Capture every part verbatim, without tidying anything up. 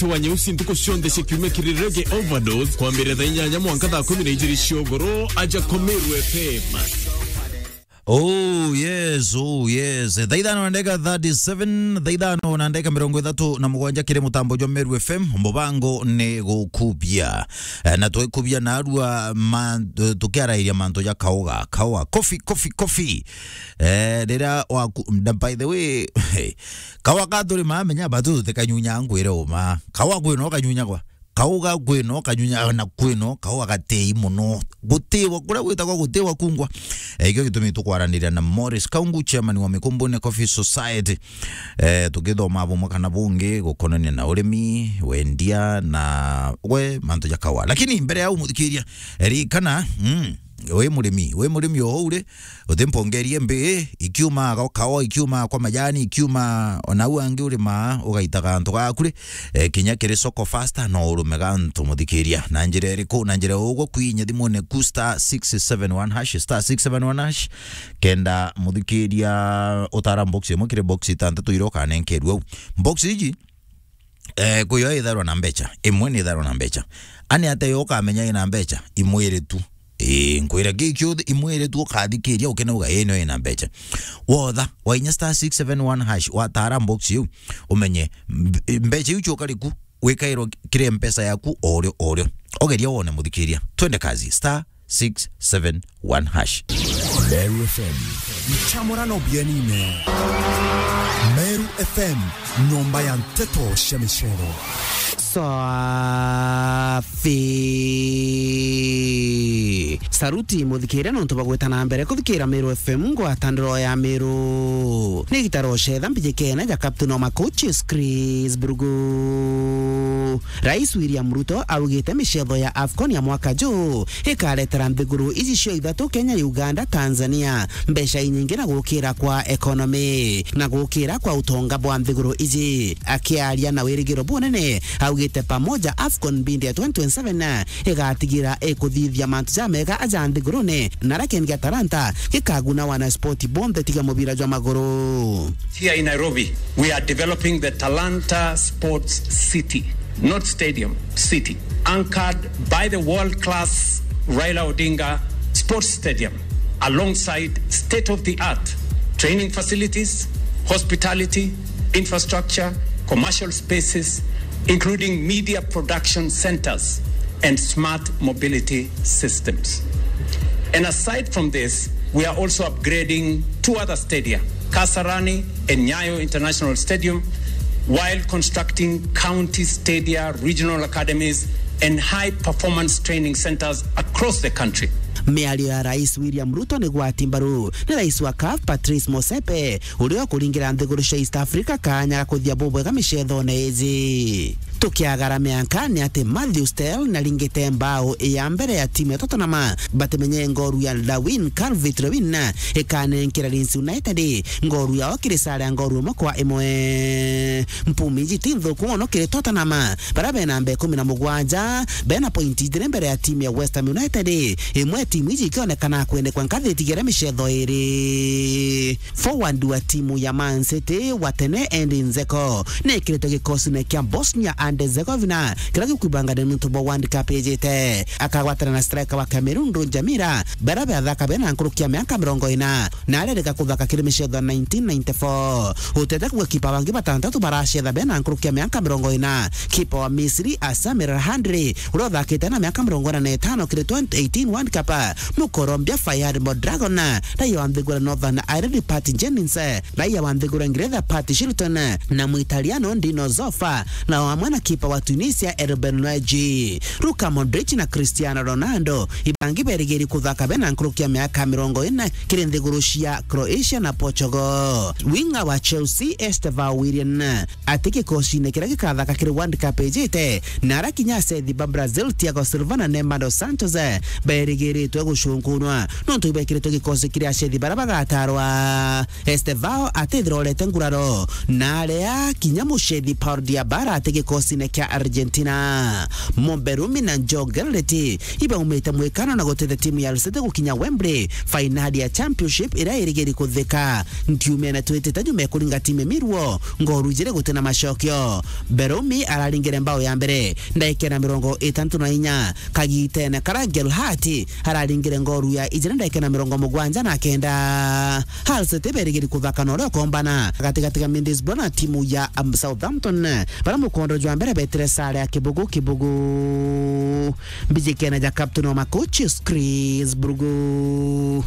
Mwanki wa Nyeusi ntuku cionthe cia kiumia kiri Reggae Overdose, kwambiriria thaa inyanya mwanka thaa kumi na ijiri cia ugoro, aja kwa Meru F M. Oh yes, oh yes. Thaa ithano na ndagika thirty-seven, thaa ithano na ndagika mirongo ithatu na mugwanja kiri mutambo jwa Meru F M, mubango ni gukubia. Eh, na twikubia narua ma-, tukiarairia mantu ja kauga, kauga, coffee, coffee, coffee. Eh, riria waku-, na by the way, kawa ka turi ma menya batu tutikanyunya ngwire uma. Kawa kwino kanyunyagwa. Kauga kwino kanyunya na kwino, kauga gatei muno. Gutiwa, kuria gwitagwa gutiwa kungwa. Eh, ikio gitumi tukwaraniria na Morris Kaungu, chairman wa Mikumbune Coffee Society. Eh, tukithoma bumwe kana bungi gukonania na urimi, wendia na we mantu ja kawa. Lakini mbere ya umuthikiria, ririkana, mm, wi murimi, wi murimi o uu ri, utimpongerie mbi, ikiuma kwa kawa, ikiuma kwa majani, ikiuma ona au angi urimaa, ugaitaga antu gaku ri, eh, kinya kiri soko faster, no urume gantu muthikiria. Na njira iriku? Na njira ugu kwinya thimune ku star six seven one hash, star six seven one hash, kenda muthikiria utara box imwe kiri box itantatu iria ukanenkerua au. Box iji, eh, kwi yo itharwa na mbecha, imwe ni itharwa na mbecha. Ani ate yo ukamenya ina mbecha, imwire tu. Ii, nkwira ki kiothe, imwire tu ukathikiria ukene uga, ii, no ina mbecha. Wotha, wainya star six seven one hash, watara box iu, umenye mb-, mbecha iu cioka riku, wikairwo kiri mpesa yaku, orio, orio. Ogeria wone muthikiria. Twende kazi, star six seven one hash. Meru F M. Nchamurano bienine. Meru F M, nyomba ya nteto cia micero. Safi. Saruti muthikiria nontu bagweta na mbere kuthikira Meru F M, ngwatandiro ya Meru. Ni gitaro cetha mbijikene ja Captain wa Macoaches, Chris Burugu. Rais William Ruto augite micetho ya AFCON ya mwaka juu ikaretera nthiguru iji cio ithatu, Kenya, Uganda, Tanzania, mbeca inyingi na gukira kwa economy na gukira kwa utonga bwa nthiguru iji. Akiaria na wirigiro bunene, augite pamoja AFCON mbindi ya twenty twenty-seven igatigira ikuthithia mantu jamega aja nthigurune, na aria kiendi gia Talanta gikaguna wana sport bonthe tiga mubira jwa maguru. Here in Nairobi, we are developing the Talanta Sports City, not stadium, city, anchored by the world-class Raila Odinga Sports Stadium, alongside state-of-the-art training facilities, hospitality, infrastructure, commercial spaces, including media production centers and smart mobility systems. And aside from this, we are also upgrading two other stadia, Kasarani and Nyayo International Stadium, while constructing county stadia, regional academies, and high-performance training centers across the country. Miario ya Rais William Ruto ni gwati mbaru ni rais wa CAF, Patrice Motsepe, uria ukuringira nthiguru cia East Africa kanya ga kuthia bubwega micethone iji. Tukiagara mianka ni ati Matthew Styles na ringite mbao ya mbere ya timu ya Tottenham batimenye ngoru ya Darwin, Calvert Lewin, ikanenkera Leeds United ngoru yao kiri sare ya ngoru imwe kwa imwe. Mpumi iji ti nthuku mono kiri Tottenham, baria bena namba ikumi na mugwanja, bena pointi ijiri mbere ya timu ya West Ham United, imwe timu iji ikionekana kwenekwa nkathi itigere micetho iri. Forward wa timu ya Man City wa tene Edin Dzeko ni ekiritwe gikosine kia Bosnia and Herzegovina kiria gikwibangania nuntu bwa World Cup ijite. Akagwatana na striker wa Cameroon Roger Milla, baria bathaka bena nkuruki ya miaka mirongo ina, na arerika kuthaka kiri micetho ya nineteen ninety-four. Utete kuga kipa bangi batantatu baracetha bena nkuruki ya miaka mirongo ina, kipa wa Misri Samir Hamdi, uria uthakite na miaka mirongo ina na itano kiri twenty eighteen World Cup, Mukolombia Fairard Mondragon, raia wa nthiguru ya Northern Ireland Pat Jennings, raia wa nthiguru ya Ngeretha Pat Shilton, na Muitaliano Dino Zoff, na amwe na kipa wa Tunisia Ruben Neves. Luka Modric na Cristiano Ronaldo ibangi berigiri kuthaka bena nkuruki ya miaka mirongo ina kiri nthiguru cia Croatia na Portugal. Winga wa Chelsea Estevao Willian ati gikosine kiria gikathaka kiri World Cup ijite, na aria kinya acethi ba Brazil Thiago Silva na Neymar dos Santos berigiritwe gucunkunwa nontu ibekiritwe gikosi kiri acethi baria bagatarwa. Estevao atithira urete nguraro, na aria kinya mucethi Paul Diabala ati gikosi gitine kia Argentina. Mumberumi na Joe Garrett ibaumite mwikano na gutethia timu ya Al City gukinya Wembley, fainali ya Championship iria irigiri kuthika. Ntiumene twitite nyuma ya kuringa timu ya Millwall ngoru ijiri gutina macokio. Berumi araringire mbao ya mbere ndagika na mirongo itantu na inya, kagitene karia Gelhardt araringire ngoru ya ijiri ndagika na mirongo mugwanja na kenda. Hull City berigiri kuthaka na uria ukombana gatigati ga Middlesbrough na timu ya, um, Southampton, baria mukondo jwa mbere betire sare ya kibugu kibugu. Mbijikene ja captain wa macoaches, Chris Brugu.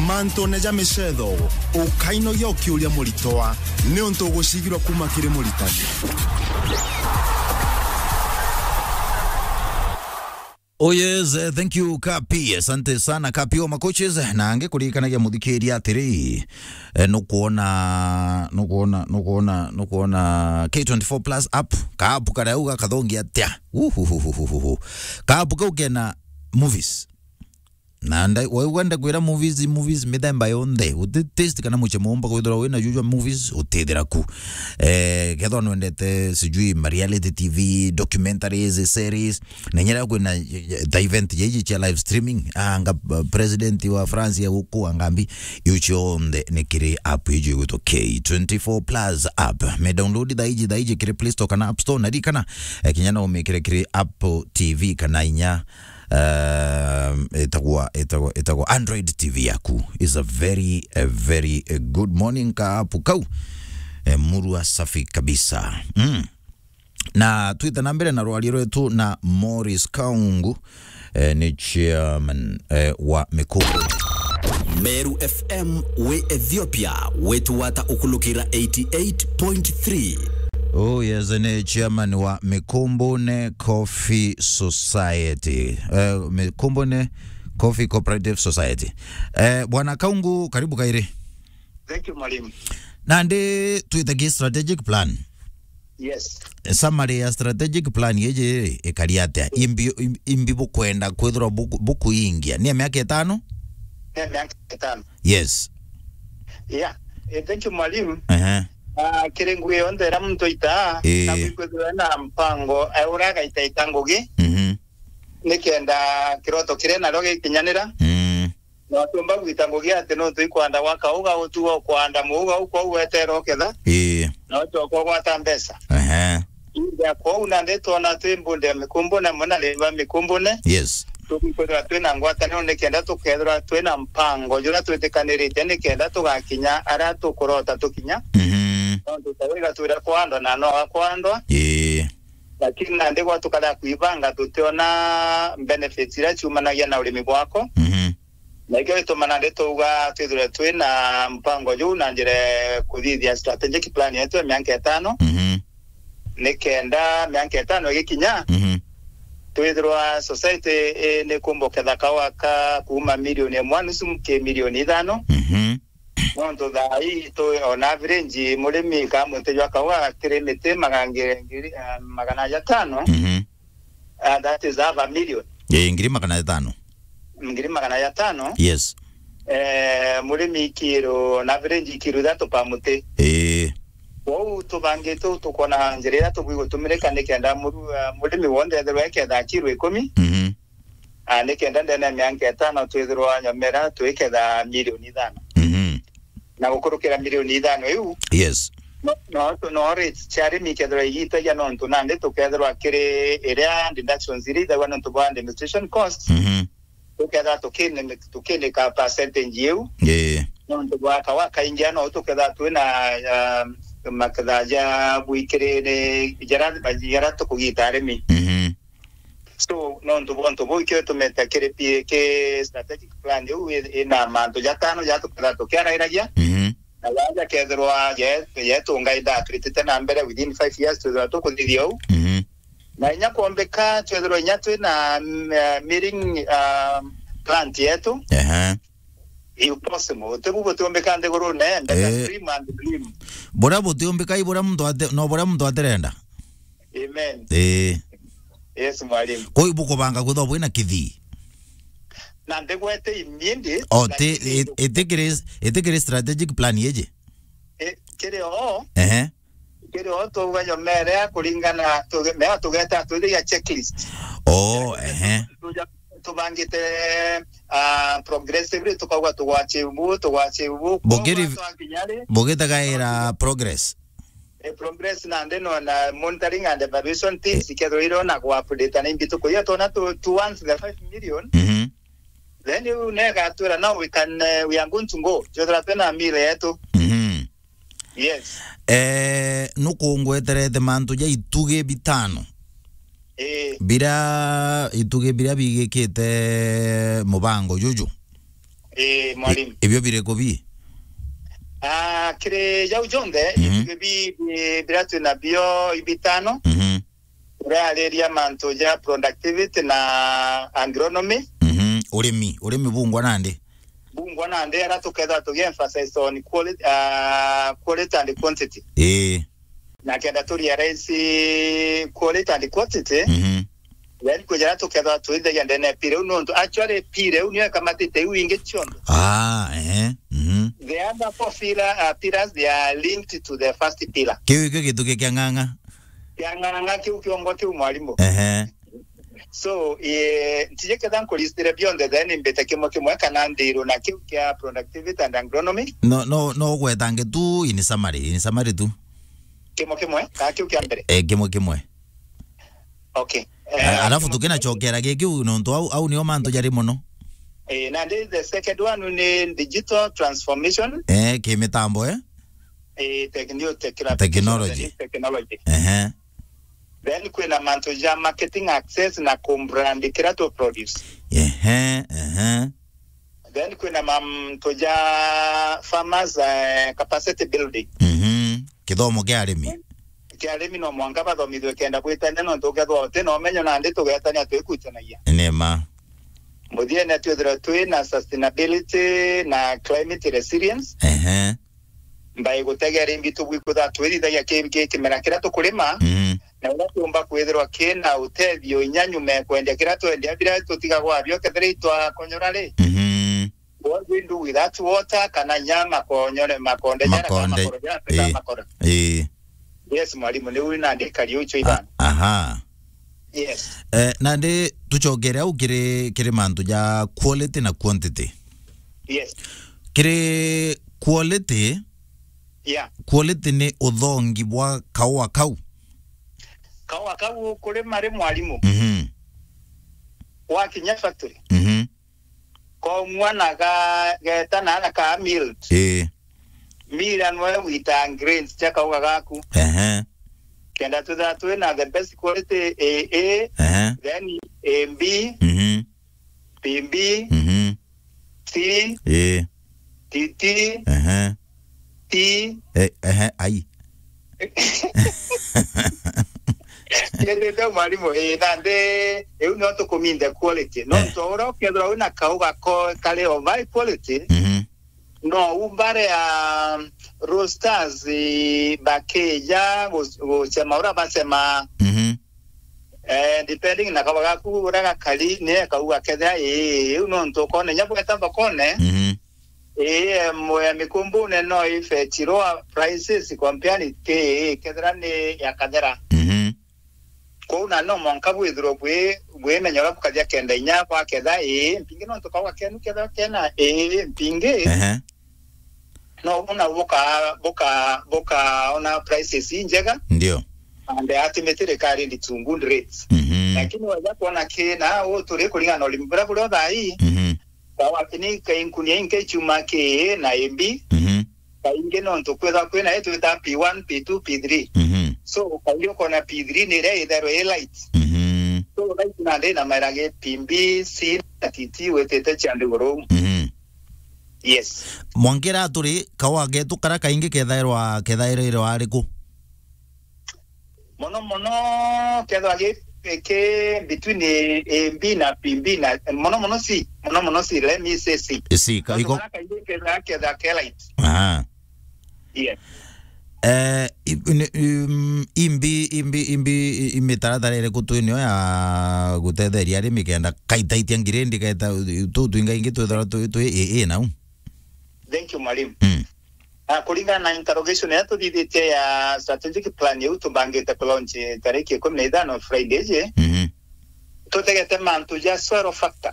Mantune ja micetho, ukainogia ukiuria muritwa, niuntu ugucigirwa kuma kiri muritani. Oh yes, eh, thank you Kapi. Asante sana Kapi wa macoaches. Na ange kurikanagia muthikiria atiri, eh, nukuona, nukuona, nukuona, nukuona K twenty-four Plus app, ka app karia uga kathongi atia. Uhuhuhuhuhu. Ka app kau kena movies. Na nda-, we wenda kwira movies, movies mithemba yonthe. Uti taste kana muche mumba kwithirwa wina jujwa movies, utithira ku. Eh, kethwa nwendete sijui ma reality T V, documentaries, series, na nyera kwina, eh, ta event yeji chia live streaming, anga, uh, president wa France ya guku angambi, iu cionthe ni kiri app iji igwitwa K twenty-four Plus app. Me download thaiji, thaiji kiri Play Store kana App Store, na rikana, eh, kinya no umikire kiri Apple T V kana inya, um, itagwa, itagwa, itagwa Android T V yaku. Is a very, a very, a good morning ka app kau. Eh, murua safi kabisa. Mm. Na twite na mbere na rwaria rwetu na Morris Kaungu, eh, ni chairman, eh, wa Mikumbu. Meru F M wi Ethiopia, wetu wata ukulukira eighty-eight point three. Oh yes, ni chairman wa Mikumbune Coffee Society. Eh, Mikumbune Coffee Cooperative Society. Eh, Bwana Kaungu, karibu kairi. Thank you, mwalimu. Nandi twitagie strategic plan. Yes. Summary ya strategic plan yeji ikari atia? Imbi, im-, imbi bukwenda kwithirwa buku-, bukuingia? Ni ya miaka itano? Ni ya miaka itano. Yes. Yeah. Eh, thank you, mwalimu. Ehe. Ah, kiri ngugi yonthe iria muntu aitaa, eh, na kwithirwa na mpango, eh, uria agaitaita ngugi. Mhm. Nikenda kiroto kiria nario gikinyanira. Mm. Na utiumba gwita ngugi ati nontu ikwanda gwaka uga utuga ukwanda muuga ukwou wetere uketha. Ii. Na ucoka ugwata mbeca. Ehe. India kwou nandi twona twi mbunde ya Mikumbune, muna riva Mikumbune. Yes. Tukwithirwa twina ngwataniro nikenda tukethirwa twina mpango juria twitikanirite nikenda tugakinya aria tukurota tukinya. Mhm. Nontu ta wiga twira kwandwa na no akwandwa. Ii. Lakini nandi gwa tukaria kwibanga tutiona benefits iria ciumanagia na urimi bwako. Mhm. Na ikio gituma nandi tuuga twithirwe twina mpango juu na njira ya kuthithia strategic plan yetu ya mianka itano. Mhm. Nikenda mianka itano igikinya, mhm, twithirwa society, eh, ni kumba uketha kaua ka kuuma milioni imwe nusu ki milioni ithano. Mhm. Nontu thaa ii tu, on average, murimi ka muti jwa kaua kiri miti magana ngiri, ngiri, eh, magana jatano. Mhm. Ah, that is half a million. Eh, ngiri magana jatano. Ngiri magana jatano. Yes. Eh, murimi kiro, on average kiro ithatu pa muti. Eh. Kwou tubangite uu tukona njira iria tubui gutumirika nikenda muru-, ah, murimi wonthe ethirwe eketha kiro ikumi. Mhm. Ah, nikenda ndene ya mianka itano twithirwa nyomera twiketha milioni ithano. Mhm. Na gukurukira milioni ithano iu, yes, no, no, no rates cia arimi ikethirwa igitagia nontu nandi tukethirwa kiri iria deductions iria ithagwa nontu bwa administration costs. Mhm. Tukethirwa tukini-, tukinika percentage iu. Yeah. Nontu bwa kawa kaingi no tukethirwa twina, ah, maketha ja bwikiriri jara, jara tukugita arimi. Mhm. So, nontu bwa untu buu, ikio gitumite kiri P A K strategic plan iu i-, ina mantu jatano ja tukethirwa tukiarairagia. Mhm. Na jaja kethirwa ye-, yetunga ithaa turitite na mbere within five years, twithirwa tukuthithia uu. Mhm. Na inya kwombika, twithirwa inya twina, mm, eh, milling, ah, plant yetu. Ehe. If possible. Utibu butiumbika nthigurune, mbeta, eh, stream and dream. Buria butiumbika i buria muntu ate-, no buria muntu atirenda. Amen. Eh. Yes, mwalimu. Kwa hiyo bukubanga kwithirwa bwina kithii? Na ndigwete immediate, o, ti-, lakini i-, itikiri, itikiri strategic plan yeji? I-, kiri o. Ehe. Kiri o tugayo mere kuringana tuge-, mea tugeta twithiria checklist. Oh, ehe. Tuja-, tubangite, ah, progressively, tukauga tugwachibu, tugwachibu. Bugiri-, Koguo twakinya ri, bugitagaira progress. Eh, progress nandi no na monitoring and evaluation teams ikethirwa iro na ku-update na imbituko. Iyo twona tu, tu once the five million. Mhm. Then you negatwira, "Now we can, eh, we are going to go." Jethira twina mire yetu. Mhm. Yes. Eh, nukungweterete mantu ja itugi bitano. Eh. Bira itugi bira bigikite mubango juju. Eh, mwalimu. I-, ibio biriku bi? Ah, kiri jau jonthe, mhm, itugi bi, bi, bira twina bio ibitano. Mhm. Urariria mantu ja productivity na agronomy. Mhm. Urimi, urimi bungwa nandi? Bungwa nandi, ara tukethira tugi emphasize on quality, ah, quality and quantity. Ii. Na kenda tu realize quality and quantity, mhm, then kwija ara tukethira twithagia ndene ya pira iu, nontu actually pira iu niyo ikamatite iu ingi cionthe. Ah, ehe. Mhm. The other four pillar, uh, pillars, they are linked to the first pillar. Kiu ikio gitugi kia ng'ang'a. Kia ng'ang'a kiu kiongo kiu, mwalimu. Ehe. So, eh, ntiji ketha nkulistire bionthe, then mbite kimwe kimwe kana ndirwe na kiu kia productivity and agronomy. No, no, no ugwetange tu in summary, in summary tu. Kimwe kimwe, kana kiu kia mbere? Eh, kimwe kimwe. Okay. Eh, eh, alafu kimwe kimwe. Tukinacokera gi kiu, nontu au, au nio mantu jari mono. Eh, nandi the second one ni digital transformation. Eh, kimitambo, eh? Eh, techno-, technology. Technology. Technology. Ehe. Then kwina mantu ja marketing access na ku brand kira tu produce. Ehe, ehe. Then kwina mantu ja farmers, eh, capacity building. Mhm. Kithomo kia arimi. Kia arimi no mwanka bathomithwe kenda bwitania, nontu ukethwa uti na umenyo nandi tugetania twikutanagia. Ni ma. Muthiene twithirwa twi na sustainability na climate resilience. Ehe. Mbai gutegera imbi tubwi kwithirwa twirithagia ki-, ki-, kimera kiria tukurima, mm, na uria kiumba kwithirwa kina utethio inya nyuma ya kwendia kiria twendia, biria tutigagwa abio kethira itwakonyora ri. Mhm. What we do with that water, kana inya makonyore, makonde jara, kana makonde, makoro jara, kana ii, makoro. Ii. Yes, mwalimu, ni uri nandi kari ucho ibana. Aha. Yes. Eh, nandi tucokere au kiri, kiri mantu ja quality na quantity. Yes. Kiri quality, yeah, quality ni uthongi bwa kaua kau. Kaua kau kuri mari, mwalimu. Mhm. Wakinya factory. Mhm. Komwa na ga-, geta na, na ka milled. Ii. Mira nwe wita grains cia kauga gaku. Ehe. Kenda twithira twina the best quality A A, ehe, then A B, mhm, B B, mhm, C, ii, T T, ehe, T. Eh, ehe, ai. Yendete mwalimu, eh, nandi, iu nio tukuminthe quality. No, eh, ntu uria ukethirwa wina kauga ko kari of high quality, mhm, no umbare ya roasters, eh, bakija gu-, gucema uria bacema. Mhm. Eh, depending na kauga gaku uria gakari, ni kauga kethira, eh, iu nontu ukona inya bweta thokone, mhm, ii, em, ya mikumbune no ifetch lower prices compared to, ii, kethira ni ya kathera. Mhm. Kwou na no mwanka bwithirwe bwi, bwimenya uria bukathia kenda inya bwaketha, ii, mpingi nontu kauga kenu kethira kena, ii, mpingi. Ehe. No bona buka, buka, bukaona prices injega. Ndio. And ati mitirikari ndi to good rates. Mhm. Lakini waja kuona kina, u turi kuringana na urimi buria buri o thaa ii. Mhm. Sawa, kini ka inkunia inke chuma ki na A B. Mhm. Kaingi nontu kwitha kwina i twita P one, P two, P three. Mhm. So, kaingi ukona P three ni iria itherwe i light. Mhm. So, light nandi na maira gi P B, C na T T witite cia nthiguru. Mhm. Yes. Mwankira turi kawa getu kara kaingi kethairwa, kethairwa ari ku? Mono mono kethwa gi, ki between A B na P B na, mono mono C, mono mono C, let me say C. C, ka-, iko- Nontu kara kaingi ketha, ketha ke light. Aha. Yes. Eh, i-, ni-, um, imbi, imbi, imbi, i-, imitaratara iriku twinio ya gutetheria arimi kenda kaitaitia ngirindi keta tu twinga ingi twithirwa twi, twi A A nau? Thank you, mwalimu. Mm. Na kuringana na interrogation iria tuthithitie ya strategic plan iu tubangite ku launch tariki ikumi na ithano Friday iji, Mhm. tutegete mantu ja soil factor.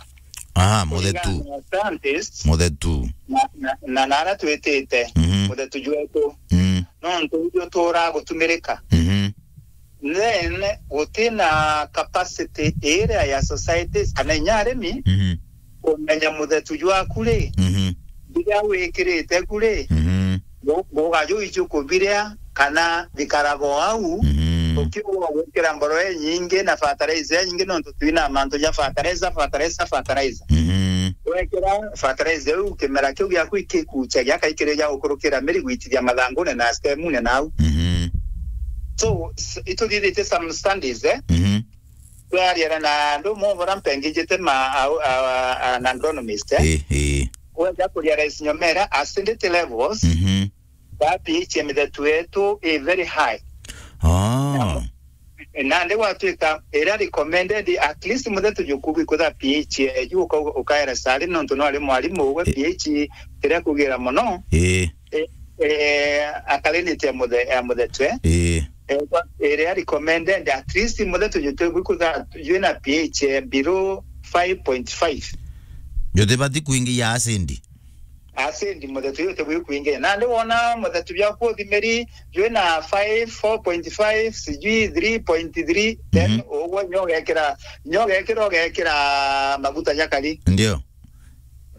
Ah, muthetu. Kuringana na scientists Muthetu. na, na, na, na aria twitite, Mhm. muthetu jwetu. Mm. Nontu uju turaa gutumirika. Mhm. Then, guti na capacity iria ya societies kana inya arimi Mhm. kumenya muthetu jwaku ri, Mhm. biria wikirite ku ri, Mhm. gu-, guga juu iju kubiria kana bikaraga o au, Mhm. ukiuga gwikira mboroo inyingi na fertilizer inyingi, nontu twina mantu ja fertilizer, fertilizer, fertilizer. Mhm. Wekira fertilizer iu, kimera kiu giaku ikikucha giakaikirija gukurukira miri gwitithia mathangune na stemune nau. Mhm. So, s-, ituthithite some studies, eh? Mhm. Twariana na andu mo bara mpengijite ma, a, a, a, an agronomist, eh? Eh, eh. Weja kurealize nyomera acidity levels, Mhm. that pH ya mithetu yetu i very high. Ah. Nandi gwatuika iria recommended, at least muthetu juku gwikutha pH eju uka-, ukaera sari nontu no ari mwarimu we Eh. pH iria kugira mono. Eh. Eh, eh, alkalinity ya muthe-, ya muthetu, eh. Eh. Eh, kwa, iria recommended, at least muthetu jutu gwikutha jwina pH eh, below five point five. Jutibati kuingia acid. Acid muthetu uyu utibui kuingia. Nandi wona muthetu biaku uthimiri jwina five, four point five, sijui three point three, then Mhm. ugwe nyo ugekira, nyo ugekira, ugekira maguta jakari. Ndio.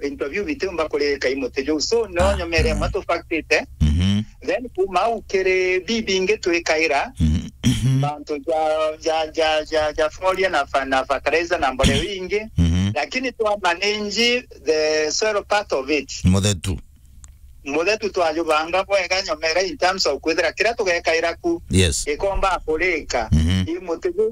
Into biu bitiumba kurika i muti juu. So, no Ah, nyomere ah. mwe tufaktite. Mhm. Then, kuma au kiri bibingi twikaira, Mhm. Mhm. mantu ja, ja, ja, ja, ja folia na fa-, na fertilizer na mboreo ingi. Mhm. Lakini twa manage the soil part of it. Muthetu. Muthetu twajubanga bwega nyomera in terms of kwithira kiria tugekaira ku Yes. gikomba kurika. Mhm. I muti juu